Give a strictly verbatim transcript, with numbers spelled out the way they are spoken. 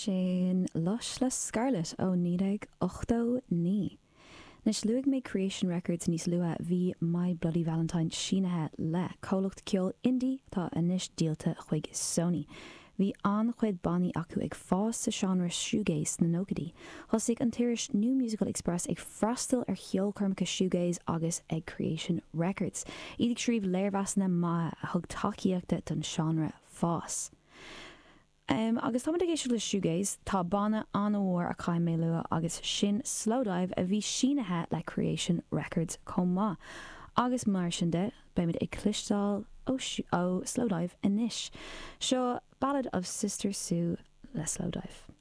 Sin Lush le Scarlet ó naoi déag ochtó naoi. Anois luaigh mé Creation Records níos luaithe, bhí My Bloody Valentine sínithe le comhlacht ceoil indie atá anois díolta chuig Sony. Bhí an-chuid bannaí acu ag fás sa seánra shoegaze sna nóchaidí. Thosaigh an t-iris New Musical Express ag freastal ar cheolchoirmeacha shoegaze agus ag Creation Records, iad ag scríobh léirmheasanna maithe a thug tacaíochta don seánra fás. Um, agus táimid ag éisteacht le shoegaze, tá banna an-mhór a chaith mé lua agus sin Slowdive a bhí sínithe le Creation Records chomh maith. Agus mar sin de, beimid ag cloisteáil ó, ó Slowdive anois. Seo Ballad of Sister Sue le Slowdive.